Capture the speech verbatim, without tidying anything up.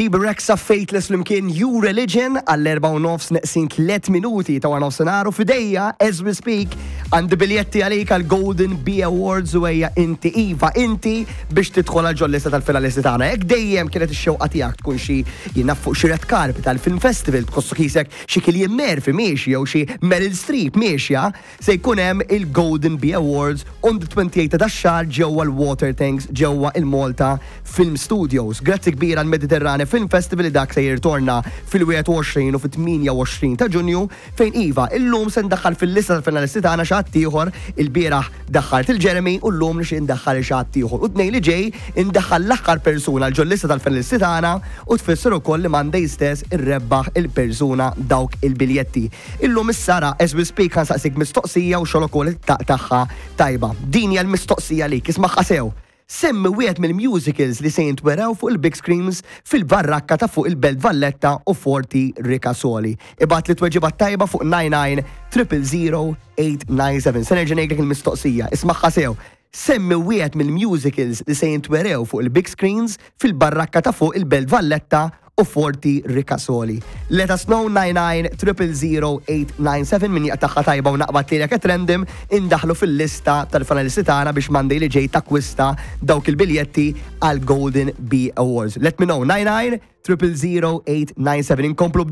Bebe Rexha, Faithless flimkien New Religion għall-erbgħa u nofs neqsin tliet minuti ta' nofsinhar u f'idejja, as we speak, għandi biljetti għalik għal Golden Bee Awards u ejja inti, iva, inti biex tidħol għal ġol-lista tal-finalisti tagħna. Jekk dejjem kienet ix-xewqa tiegħek tkun xi jinnaf fuq xi red carpet tal-film festival, tħossu qisek xi Cillian Murphy miexi jew xi Meryl Streep miexja, se jkun hemm il-Golden Bee Awards on the twenty-eight ta' dax-xahar ġewwa l-Water Tanks ġewwa il-Malta Film Studios. Grazzi kbira għal Mediterrane Film Festival li dak se jirtorna fil-wieħed u għoxrin u fit-tmienja u għoxrin ta' Ġunju fejn iva, illum se ndaħħal fil-lista tal-finalisti tagħna xi ħadd ieħor. Il-bieraħ daħħalt il-Jeremy u llum nixtieq indaħħal xi ħadd ieħor. U t-Tnejn li ġej indaħħal l-aħħar persuna ġol lista tal-finalisti tagħna u tfisser ukoll li Monday stess irrebbaħ il-persuna dawk il-biljetti. Illum is-Sara, as we speak, ħa nsaqsik mistoqsija u xogħol ukoll taqtagħha tajba. Din hija l-mistoqsija li ismagħha sew. Semmi wieħed mill-musicals li se jintwerew fuq il-big screens fil-barrakka ta' fuq il-Belt Valletta u Forti Ricasoli. Ibgħatli tweġiba tajba fuq nine nine zero zero eight nine seven. Se nerġa' ngħidlek il-mistoqsija, ismagħha sew. Semmi wieħed mill-musicals li se jintwerew fuq il-big screens fil-barrakka ta' fuq il-Belt Valletta u Forti Ricasoli. Let us know, nine nine zero zero eight nine seven. Min jaqtagħha tajba u naqbad li at random indaħlu fil-lista tal-finalisti tagħna biex Monday li ġej takkwista dawk il-biljetti għal Golden Bee Awards. Let me know, nine nine zero zero eight nine seven. Inkomplu b'di.